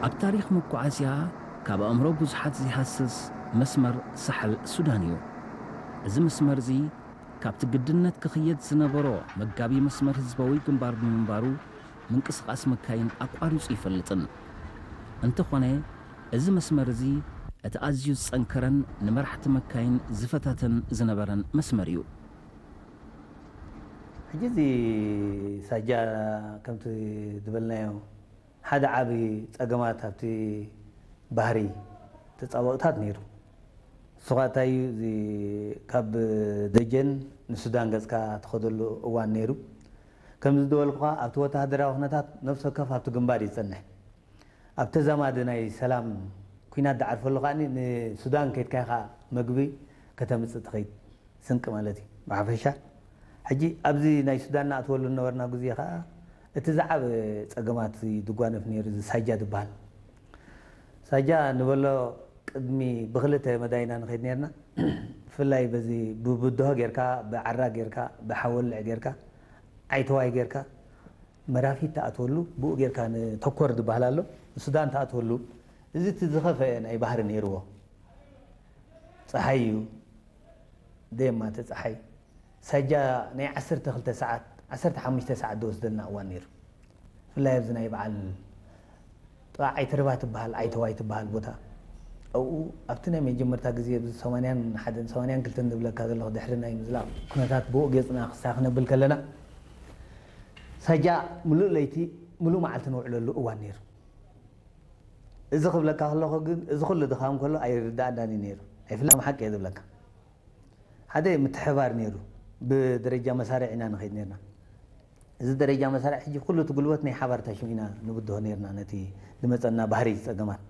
ኣብ ታሪኽ መጓዓዝያ ካብ ኣእምሮ ብዙሓት ዘይሃስስ መስመር ሳሕል ሱዳን እዩ። እዚ መስመር እዚ ካብቲ ግድነት ክኽየድ ዝነበሮ መጋቢ መስመር ህዝባዊ ግንባር ብምንባሩ ምንቅስቓስ መካይን ኣቋሪጹ ይፈልጥን። እንተኾነ እዚ መስመር እዚ እቲ ኣዝዩ ዝጸንከረን ንመራሕቲ መካይን ዝፈታተን ዝነበረን መስመር እዩ። ሕጂ እዚ ሳጃ ከምቲ ዝበልናዮ ሓደ ዓቢ ጸገማት ኣብቲ ባህሪ ተጻብኦታት ነይሩ። ንሱ ኸኣ እንታይ እዩ፣ እዚ ካብ ደጀን ንሱዳን ገጽካ ትኸደሉ እዋን ነይሩ። ከም ዝበልኩኻ ኣብቲ ወተሃደራዊ ኩነታት ነፍሲ ወከፍ ኣብቲ ግንባር እዩ ዝጸንሕ። ኣብ ተዛማዲ ናይ ሰላም ኲናት ድዓርፈሉ ከኣ ንሱዳን ከይድካ ኢኻ መግቢ ከተምጽእ ትኸይድ፣ ስንቂ ማለት እዩ ብሓፈሻ። ሕጂ ኣብዚ ናይ ሱዳን ንኣትወሉ ዝነበርና ግዜ ከኣ እቲ ዝዓበ ጸገማት ድጓነፍ ነይሩ፣ እዚ ሳጃ ዝበሃል። ሳጃ ንበሎ ቅድሚ ብኽልተ መዳይና ንኸይድ ነርና። ብፍላይ በዚ ብብድሆ ጌርካ፣ ብዓራ ጌርካ፣ ብሓወልዕ ጌርካ፣ ዓይተዋይ ጌርካ መራፊት ትኣትወሉ፣ ብኡ ጌርካ ንተኮር ዝበሃል ኣሎ፣ ንሱዳን ትኣትወሉ። እዚ እቲ ዝኸፈአ ናይ ባህሪ ነይርዎ። ጸሓይ እዩ፣ ደየማተ ጸሓይ። ሳጃ ናይ ዓሰርተ ክልተ ሰዓት፣ ዓሰርተ ሓሙሽተ ሰዓት ዝወስደልና እዋን ነይሩ። ብፍላይ ኣብዚ ናይ በዓል ጥቓ ዓይተርባ ትበሃል፣ ዓይተዋይ ትበሃል ቦታ። ኣብኡ ኣብቲ ናይ መጀመርታ ግዜ ኣብዚ ሰማንያን ሓደን ሰማንያን ክልተን ዝብለካ ዘለኹ ድሕሪ ናይ ምዝላቕ ኩነታት ብኡ ገጽና ክሳ ክነብል ከለና ሳጃ ምሉእ ለይቲ ምሉእ መዓልቲ ነውዕለሉ እዋን ነይሩ። እዚ ክብለካ ከለኹ ግን እዚ ኩሉ ድኻም ከሎ ኣይርዳእናን እዩ ነይሩ። ኣይፍላም ሓቂ እየ ዝብለካ። ሓደ ምትሕባር ነይሩ። ብደረጃ መሳርዕ ኢና ንኸይድ ነርና። እዚ ደረጃ መሳርዕ ሕጂ ኩሉ እቲ ጉልበት ናይ ሓባር ታሽሙ ኢና ንብድሆ ነርና ነቲ ዝመጸና ባህሪ ጸገማት።